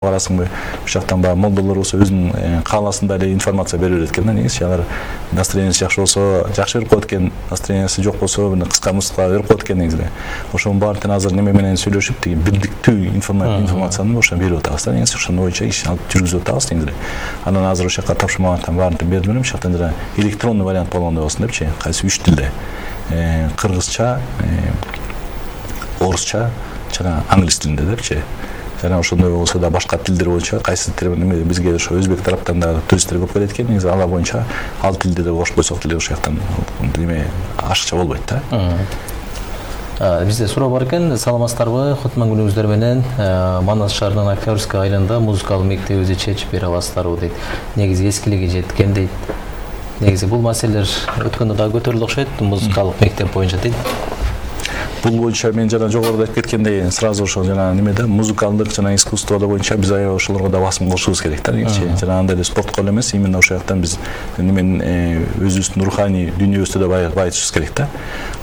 карасыңбы бул жактан баягы молдолор болсо өзүнүн кааласында эле информация бере берет экен да. Негизи алар настроенияси жакшы болсо жакшы берип коет экен, настроенияси жок болсо кыска мыска берип коет экен негизи. Ошонун баарын азыр неме менен сүйлөшүп тиги бирдиктүү информацияны ошо берип атабыз да. Негизи ошондой боюнча иш алып жүргүзүп атабыз негизи. Анан азыр ошол жака тапшырмагандыктан баарын бердим элем. Ошол жактан жана электрондуу вариант болгондой болсун депчи. Кайсы 3 тилде. Кыргызча, орусча жана англис тилинде депчи. Жана ошондой болсо да башка тилдер боюнча кайсы неме бизге ошо өзбек тараптан да туристтер көп келет экен. Негизи алар боюнча ал тилде да кошуп койсок деле ошол жактан неме ашыкча болбойт да. Бизде суроо бар экен. Саламатсыздарбы? Кутман күнүңүздөр менен Манас шаарынын Октябрьский айылында музыкалык мектебибизди чечип бере аласыздарбы дейт. Негизи эскилиги жеткен дейт. Негизи бул маселелер өткөндө да көтөрүлдү окшойт, музыкалык мектеп боюнча дейт. Бул боюнча мен жана жогоруда айтып кеткендей, сразу ошо жана немеде музыкалдык жана искусство боюнча биз аябай ошолорго да басым кошушубуз керек да. Жана андай эле спортко эле эмес, именно ошол жактан биз неменин өзүбүздүн руханий дүйнөбүздү да байытышыбыз керек да.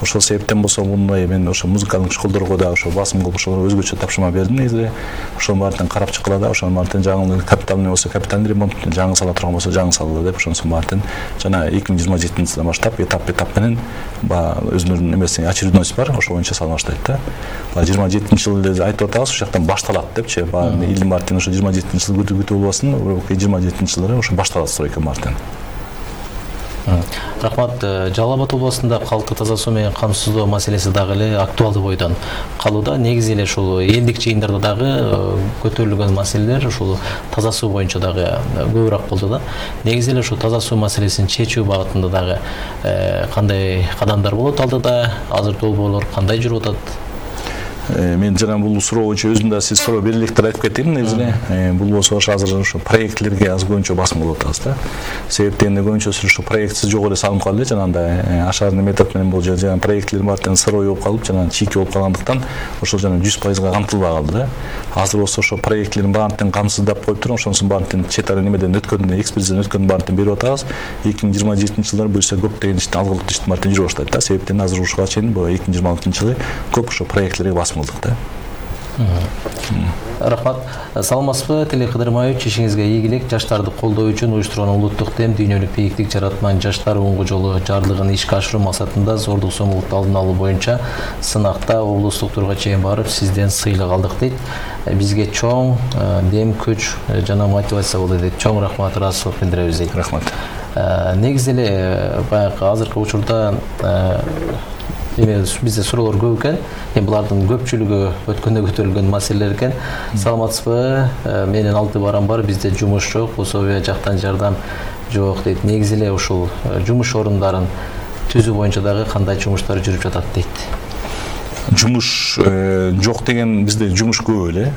Ошол себептен болсо мындай мен ошо музыкалдык школдорго да ошо басым кылып ошолорго өзгөчө тапшырма бердим негизи. Ошонун баарын карап чыккыла да, ошонун баарын жаңы капитальный болсо капитальный ремонт, жаңы сала турган болсо жаңы салалы деп ошонун баарын жана 2027-жылдан баштап этап менен өзүнүн немеси очередность бар, ошо салып баштайт да. 27-жыл эле айтып атабыз, ошол жактан башталат депчи. Илдин баарын ошо 27-жыл күтүп болбосун, 27-жылдары ошо башталат стройка баарын. Рахмат. Жалал Абад областында калкты таза суу менен камсыздоо маселеси дагы эле актуалдуу бойдон калууда. Негизи эле ушул элдик жыйындарда дагы көтөрүлгөн маселелер ушул таза суу боюнча дагы көбүрөөк болду да. Негизи эле ушул таза суу маселесин чечүү багытында дагы кандай кадамдар болот алдыда, азыр долбоорлор кандай жүрүп атат? Мен жана бул суроо боюнча өзүм да сиз суроо бере электир айтып кетейин негизи. Бул болсо азыр ошо проектлерге аз көбүнчө басым кылып атабыз да. Себеп дегенде көбүнчөсү ошо проектсиз жок эле салынып калды жана андай ашарный метод менен бул жана проектлер баарын сырой болуп калып жана чийки болуп калгандыктан ошол жана 100% камтылбай калды да. Азыр болсо ошо проектлерин баарын камсыздап коюп туруп, ошонусун баарын чет ара немеден өткөндөн экспертизадан өткөндөн баарын берип атабыз. 2027-жылдары буюрса көптөгөн иштин алгылыктуу иштин баарын жүрүп баштайт да. Себептен азыр ушуга чейин 2026-жылы көп ошо проектлерге басым кылдык да. Рахмат. Саламатсызбы? Телекыдырмаевич, ишиңизге ийгилик. Жаштарды колдоо үчүн уюштурган улуттук дем дүйнөлүк бийиктик жаратман жаштар оңгу жолу жарлыгын ишке ашыруу максатында зордук зомбулукту алдын алуу боюнча сынакта облустук турга чейин барып сизден сыйлык алдык дейт. Бизге чоң дем, күч жана мотивация болду дейт. Чоң рахмат, ыраазычылык билдиребиз дейт. Рахмат. Негизи эле баягы азыркы учурда бизде суроолор көп экен. Булардын көпчүлүгү өткөндө көтөрүлгөн маселелер экен. Саламатсызбы? Менин 6 барам бар, бизде жумуш жок, пособия жактан жардам жок дейт. Негизи эле ушул жумуш орундарын түзүү боюнча дагы кандай жумуштар жүрүп жатат дейт. Жумуш жок деген бизде жумуш көп эле.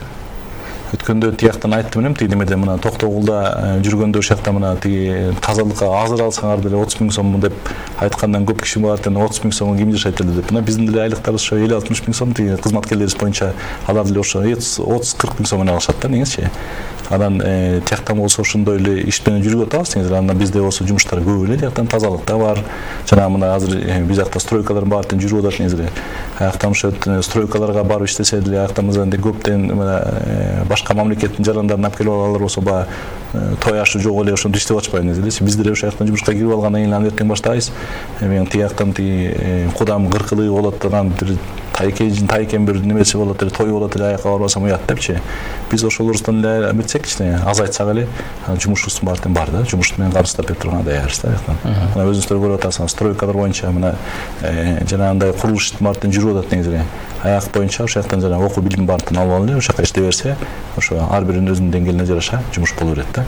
Өткөндө тияктан айттым элем, тиги немеде мына Токтогулда жүргөндө ошол жакта мына тиги тазалыкка азыр алсаңар деле 30 000 сом деп айткандан көп киши бар экен, 30 000 сомго ким жашайт эле деп. Мына биздин деле айлыктарыбыз ошо 50-60 000 сом, тиги кызматкерлерибиз боюнча алар деле ошо 30-40 000 сом менен алышат да негизичи. Анан тияктан болсо ошондой эле иш менен жүргүзүп атабыз негизи. Анан бизде болсо жумуштар көп эле, тияктан тазалыкта бар. Жана мына азыр биз жакта стройкалар баарын жүрүп атат негизи. Аяктан ошо стройкаларга барып иштесе деле аяктан көптөн башка мамлекеттин жарандарын алып келип алалар болсо той ашы жок эле ошондо иштеп атышпайбы негизи. Биз деле ошол жактан жумушка кирип алгандан кийин анан эртең баштайбыз. Мен тияктан кудам кыркылыгы болот, анан бир тайкен бир немеси болот эле, той болот эле, аякка барбасам уят депчи. Биз ошолордон эле эметсек, азайтсак эле жумушубуздун баарын бар да. Жумуш менен камсыздап берип турган даярбыз да. Мына өзүңүздөр көрүп атасыңыз, стройкалар боюнча мына жана андай курулуш баарын жүрүп атат негизи. Аяк боюнча ошол жактан жана окуу билим баарын алып алып эле ошол жака иштей берсе, ошо ар биринин өзүнүн деңгээлине жараша жумуш боло берет да.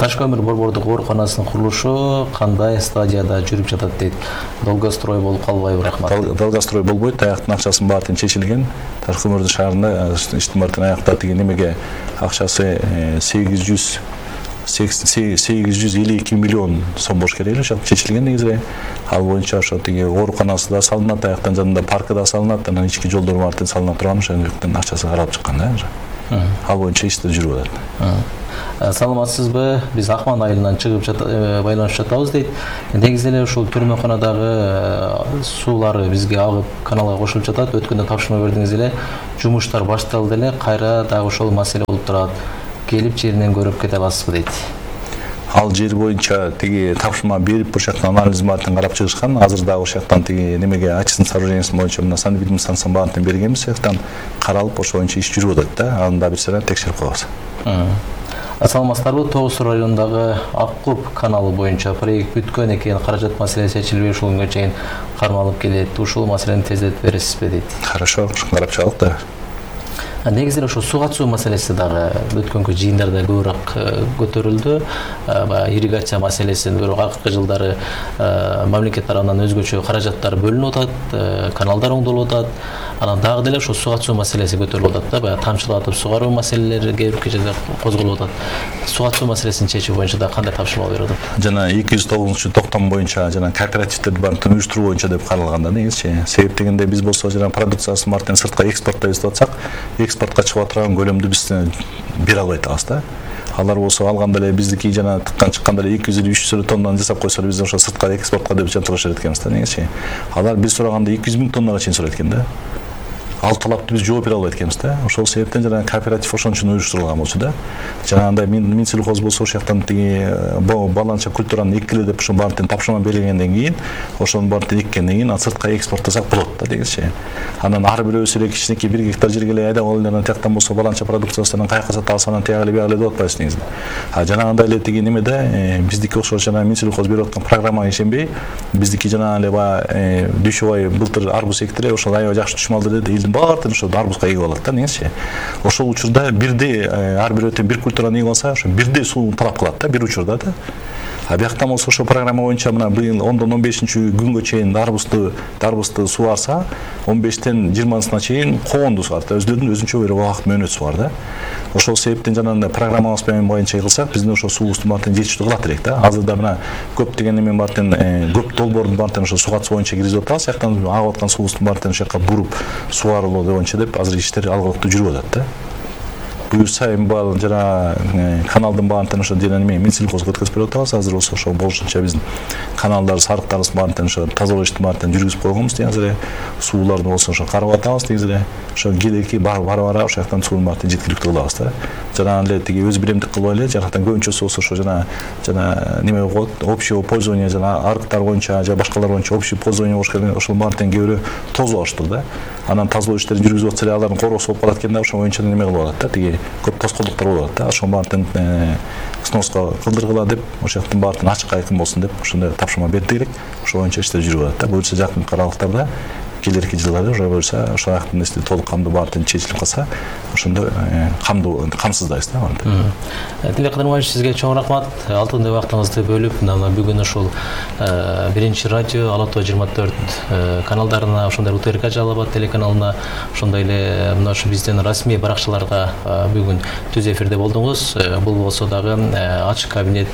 Таш көмүр борбордук ооруканасынын курулушу кандай стадияда жүрүп жатат дейт. Долгострой болуп калбайбы? Рахмат. Долгострой болбойт, аяктын акчасынын баарын чечилген. Таш көмүрдүн шаарында иштин баарын аякта тиги немеге акчасы 852 миллион сом болуш керек эле, ошол чечилген негизи. Ал боюнча ошо тиги ооруканасы да салынат, аяктан жанында паркы да салынат, анан ички жолдор баарын салына турган ошол жактан акчасы каралып чыккан да. Ал боюнча иштер жүрүп атат. Саламатсызбы? Биз Акман айылынан чыгып байланышып жатабыз дейт. Негизи эле ушул түрмөканадагы суулары бизге агып каналга кошулуп жатат. Өткөндө тапшырма бердиңиз эле, жумуштар башталды эле, кайра дагы ошол маселе болуп турат. Келип жеринен көрүп кете аласызбы дейт. Ал жер боюнча тиги тапшырма берип ошол жактан анализ баарын карап чыгышкан. Азыр дагы ошол жактан тиги немеге очистный сооружениесі боюнча мына санэпидемиялык станцияны баарын бергенбиз. Ошол жактан каралып ошол боюнча иш жүрүп атат да. Аны да бир сыры текшерип коебуз. Саламатсыздарбы? Тоғыз Суу районундагы Аккуб каналы боюнча проект бүткөн экен, каражат маселеси чечилбей ушул күнгө чейин кармалып келет. Ушул маселени тездетип бересизби дейт. Хорошо, карап чыгалык да. Негизи ошо суу катышуу маселеси дагы өткөнкү жыйындарда көбүрөөк көтөрүлдү. Ирригация маселеси бирок акыркы жылдары мамлекет тарабынан өзгөчө каражаттар бөлүнүп атат, каналдар оңдолуп атат. Анан дагы деле ошо суу катышуу маселеси көтөрүлүп атат да. Баягы тамчылатып сугаруу маселелери кээ бир жерде козголуп атат. Суу катышуу маселесин чечүү боюнча да кандай тапшырма берип атат? Жана 209-токтом боюнча жана кооперативдерди баарын уюштуруу боюнча деп каралган да негизичи. Себеп дегенде биз болсо жана продукциясын баарын сыртка экспорттойбуз деп атсак, экспортко чыгып турган көлөмдү биз бере албай атабыз да. Алар болсо алганда эле биздики жана тыккан чыкканда эле 200-300 тоннаны жасап койсо биз ошо сыртка экспортко деп жантырышып эткенбиз да негизичи. Алар биз сураганда 200 000 тоннага чейин сурайт экен да. Ал талапты биз жооп бере албайт экенбиз да. Ошол себептен жана кооператив ошон үчүн уюштурулган болчу да. Жанагындай Минсельхоз болсо ошол жактан тиги баланча культураны эккиле деп ошо баарын тапшырма берилгенден кийин, ошонун баарын эккенден кийин сыртка экспорттосак болот да негизичи. Анан ар бирөөбүз эле кичинекей 1 гектар жерге эле айдап алып эле тияктан болсо баланча продукциясын каяка сата алсак анан тияк эле бияк эле деп атпайбыз негизи. Жанагындай эле тиги немеде биздики ошо жана Минсельхоз берип аткан программага ишенбей, биздики жана эле баягы Дүйшөбай былтыр арбуз экти эле, ошол аябай жакшы түшүм алды деди. Баардыгын ошо арбузга эгип алат да негизичи. Ошол учурда бирдей ар бирөөтөн бир культураны эгип алса, ошо бирдей суу талап кылат да бир учурда да. Бияктан болсо ошо программа боюнча мына быйыл 10-15 күнгө чейин дарбузду суарса, 15-тен 20-сына чейин коонду суарат. Өзлөрүнүн өзүнчө бир убакыт мөөнөт суар да. Ошол себептен жанагындай программабыз боюнча кылсак, биздин ошо суубуздун баарын жетиштүү кылат элек да. Азырда мына көп деген неме баарын көп долбоордун баарын ошо суу катышуу боюнча киргизип атабыз. Жактан агып аткан суубуздун баарын ошол жака буруп суарылуу боюнча деп азыр иштер алгылыктуу жүрүп атат да. Буюрса эми баарын жана каналдын баарын ошо жана неме Минсельхозго өткөзүп берип атабыз. Азыр ошо болушунча биздин каналдар, сарыктарыбыз баарын ошо тазалоо иштин баарын жүргүзүп койгонбуз. Азыр эле сууларды болсо ошо карап атабыз. Негизи эле ошо келеки бара ошол жактан суунун баарын жеткиликтүү кылабыз да. Жана эле тиги өз биремдик кылбай эле жактан көбүнчөсү болсо ошо жана неме коет, общее пользование жана арыктар боюнча же башкалар боюнча общее пользование болуш керек. Ошол баарын кээ бирөө тозуп алыштыр да. Анан тазалоо иштерин жүргүзүп атса эле алардын короосу болуп калат экен да. Ошол боюнча неме кылып атат да. Тиги көп тоскоолдуктар болуп атат да. Ошол баарын сноска кылдыргыла деп, ошол жактан баарын ачык айкын болсун деп ошондой тапшырма бердик элек. Ошол боюнча иштер жүрүп атат да. Буюрса жакын аралыктарда келерки жылдары уже буюрса ошол жактын эсти толук камдуу баарын чечилип калса, ошондо камсыздайбыз да аны. Тилек Кадырмаевич, сизге чоң рахмат. Алтынды убактыңызды бөлүп, мына бүгүн ошол биринчи радио Ала Тоо 24 каналдарына, ошондой УТРК Жалал Абад телеканалына, ошондой эле мына ушу биздин расмий баракчаларга бүгүн түз эфирде болдуңуз. Бул болсо дагы ачык кабинет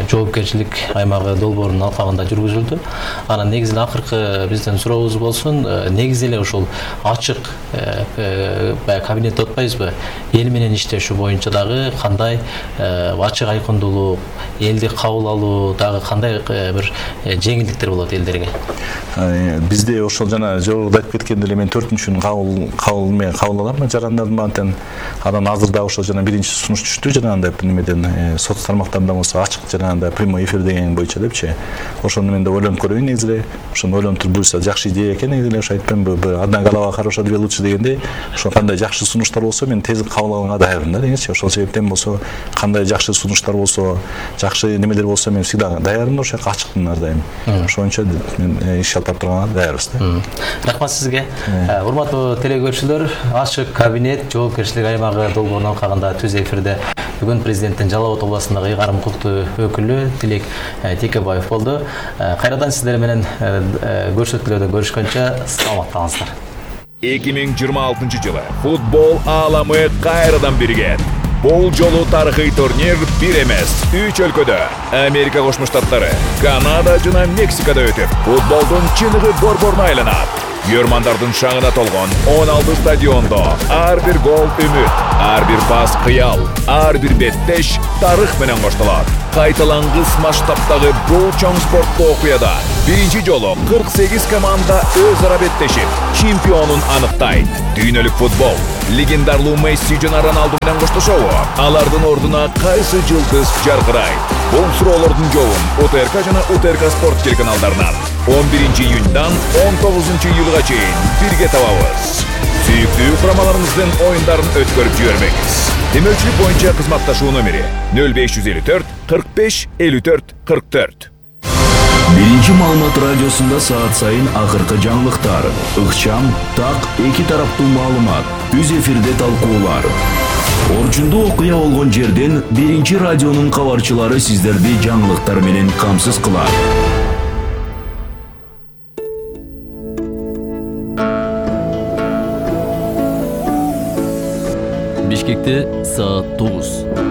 жоопкерчилик аймагы долбоорунун алкагында жүргүзүлдү. Анан негизи акыркы биздин сурообуз болсун, негизи эле ошол ачык кабинет деп атпайбызбы? Эл менен иштешүү боюнча дагы кандай ачык айкындуулук, элди кабыл алуу дагы кандай бир жеңилдиктер болот элдерге? Бизде ошол жана жогоруда айтып кеткендей эле мен 4-күн кабыл алам жарандардын баарын. Анан азыр дагы ошол жана биринчи сунуш түштү жанагындай немеден соц тармактарында болсо ачык жанагындай прямой эфир деген боюнча депчи. Ошону мен да ойлонуп көрөйүн негизи эле. Ошону ойлонуп туруп буюрса жакшы идея экен негизи эле. Ошо айтпаймынбы, одна голова хорошо, две лучше дегендей. Ошо кандай жакшы сунуштар болсо мен тез кабыл алганга даярмын да негизичи. Ошол себептен болсо кандай жакшы сунуштар болсо, жакшы немелер болсо мен всегда даярмын, ошо жака ачыкмын ар дайым. Ошончо мен иш алып турганга даярбыз да. Рахмат сизге. Урматтуу телекөрүүчүлөр, ачык кабинет жоопкерчилик аймагы долбоорунун алкагында түз эфирде бүгүн президенттин Жалал Абад областындагы ыйгарым укуктуу өкүлү Тилек Текебаев болду. Кайрадан сиздер менен көрсөтүүлөрдө көрүшкөнчө саламаттаңыздар. 2026 жылы футбол ааламы кайрадан биригет. Бул жолу тарыхый турнир бир эмес, 3 өлкөдө, Америка Кошмо Штаттары, Канада жана Мексикада өтүп, футболдун чыныгы борборуна айланат. Йөрмандардын шаңына толгон 16 стадиондо ар бир гол үмүт, ар бир пас кыял, ар бир беттеш тарых менен коштолот. Кайталангыс масштабтагы бул чоң спорттуу окуяда биринчи жолу 48 команда өз ара беттешип, чемпионун аныктайт. Дүйнөлүк футбол легендарлуу Месси жана Роналду менен коштошобу? Алардын ордуна кайсы жылдыз жаркырайт? Бул суроолордун жообун УТРК жана УТРК спорт телеканалдарынан 11 июньдан 19 июлга чейин бирге табабыз. Сүйүктүү курамаларыбыздын оюндарын өткөрүп жибермеңиз. Демөүчүлүк боюнча кызматташуу номери 0554 45 54 44. Биринчи маалымат радиосунда саат сайын акыркы жаңылыктар, ыкчам, так, эки тараптуу маалымат, үз эфирде талкуулар. Орчундуу окуя болгон жерден биринчи радионун кабарчылары сиздерди жаңылыктар менен камсыз кылат. Бишкекте саат 9.